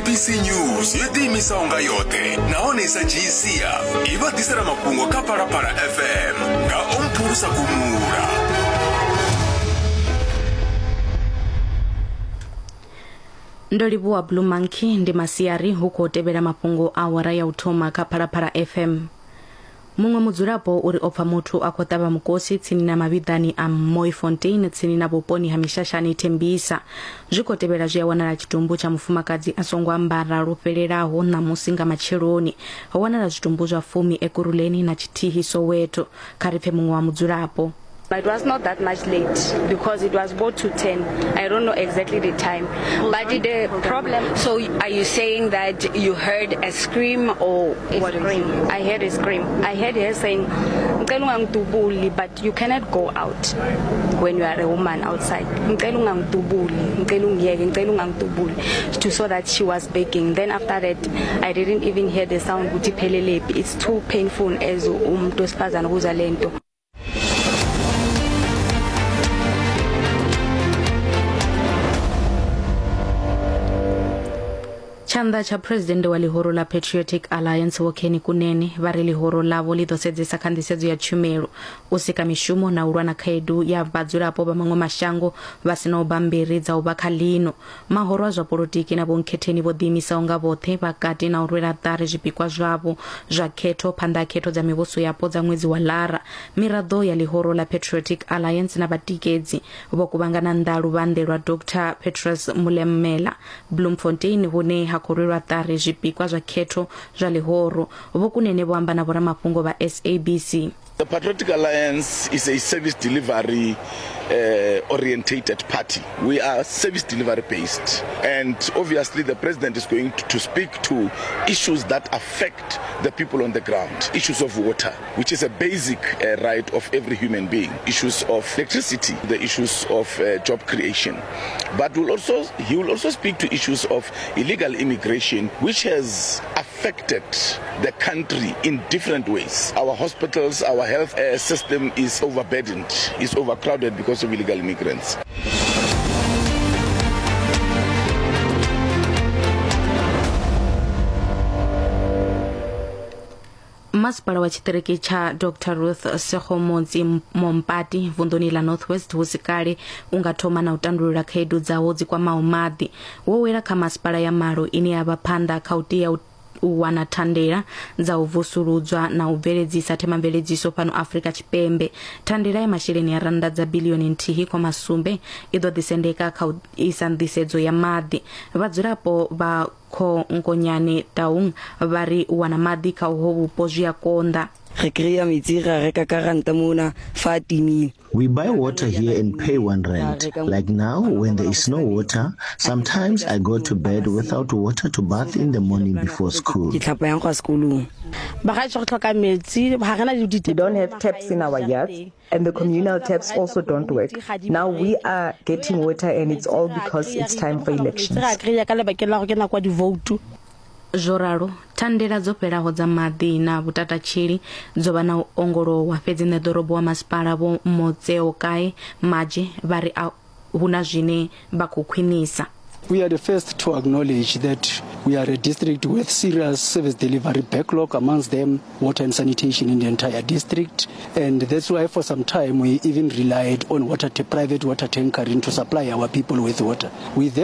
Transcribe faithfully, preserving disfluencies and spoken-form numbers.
S A B C News yo ḓiimisaho nga yoṱhe nahone i sa dzhii sia i vha ḓisela mafhungo kha Phalaphala F M nga Omphulusa Gumula. Ndo livhuwa Blue Monkey ndi masiari hu khou tevhela mafhungo a awara ya u thoma kha Phalaphala F M. Muṅwe mudzulapo uri o pfa muthu a khou ṱavha mukosi tsini na mavhiḓani a Mooifontein tsini na vhuponi ha Mishashani Tembisa. Zwi khou tevhela zwi a wanala tshitumbu tsha mufumakadzi a songo ambara lwo fhelelaho ṋamusi nga matsheloni. Ho wanala zwitumbu zwa fumi Ekurhuleni na tshithihi Soweto. Kha ri pfe muṅwe wa mudzulapo. It was not that much late because it was about to ten. I don't know exactly the time. But the problem... So are you saying that you heard a scream or a what scream? Is I heard a scream. I heard her saying, but you cannot go out when you are a woman outside. So that she was begging. Then after that, I didn't even hear the sound. It's too painful as umuntu wesifazane ukuzwa lento. Tshanḓa tsha president wa ḽihoro ḽa Patriotic Alliance Vho Kenny Kunene vha ri ḽihoro ḽavho ḽi ḓo sedzesa kha nḓisedzo ya tshumelo, u sika mishumo na u lwa na khaedu ya vhadzulapo vha maṅwe mashango vha sinaho bammbiri dza u vha kha ḽino. Mahoro a zwa polotiki na vhonkhetheni vho ḓiimisaho nga vhoṱhe vha kati na u rwela ṱari zwipikwa zwavho zwa khetho phanḓa ha khetho dza mivhuso yapo dza ṅwedzi wa Lara. Miraḓo ya ḽihoro ḽa Patriotic Alliance na vhatikedzi vho kuvhangana nnḓa luvhanḓe lwa Doctor Petrus Mulemela Bloemfontein hune ha khou rwelwa ṱari zwipikwa zwa khetho zwa ḽihoro. Vho Kunene vho amba na vhoramafhungo vha S A B C. The Patriotic Alliance is a service delivery uh, orientated party. We are service delivery based, and obviously the president is going to speak to issues that affect the people on the ground. Issues of water, which is a basic uh, right of every human being. Issues of electricity, the issues of uh, job creation. But we'll also, he will also speak to issues of illegal immigration, which has affected the country in different ways. Our hospitals, our health uh, system is overburdened, is overcrowded because of illegal immigrants. Masipala wa tshiṱiriki tsha Doctor Ruth Segomotsi Mompati vunḓuni ḽa North West hu si kale u nga thoma na u tandulula khaedu dzawo dzi kwamaho maḓi. Wo wela kha masipala ya malo ine ya vha phanḓa kha u tea u u wana thandela dza u vusuludzwa na u bveledzisa themamveledziso fhano Afrika Tshipembe. Thandela ya masheleni ya rannda dza bilioni nthihi khoma sumbe i ḓo ḓisendeka kha u isa nḓisedzo ya maḓi. Vhadzulapo vha Khongonyane Taung vha ri u wana maḓi kha uho vhupo zwi a konḓa. Re kry-a metsi ra reka ka ranta mona fa a timile. We buy water here and pay one rand. Like now, when there is no water, sometimes I go to bed without water to bath in the morning before school. Ke tlhapa yang go sekolong. We don't have taps in our yards, and the communal taps also don't work. Now we are getting water, and it's all because it's time for elections. Zwo ralo, thandela dzo fhelaho dza maḓi na vhutatatshili dzo vha na u ongolowa, fhedzi ṋeḓorobo wa masipala Vho Motseokae Maje vha ri a hu na zwine vha khou khwinisa. We are the first to acknowledge that we are a district with serious service delivery backlog, amongst them water and sanitation in the entire district. And that's why for some time we even relied on water, private water tankering to supply our people with water. We then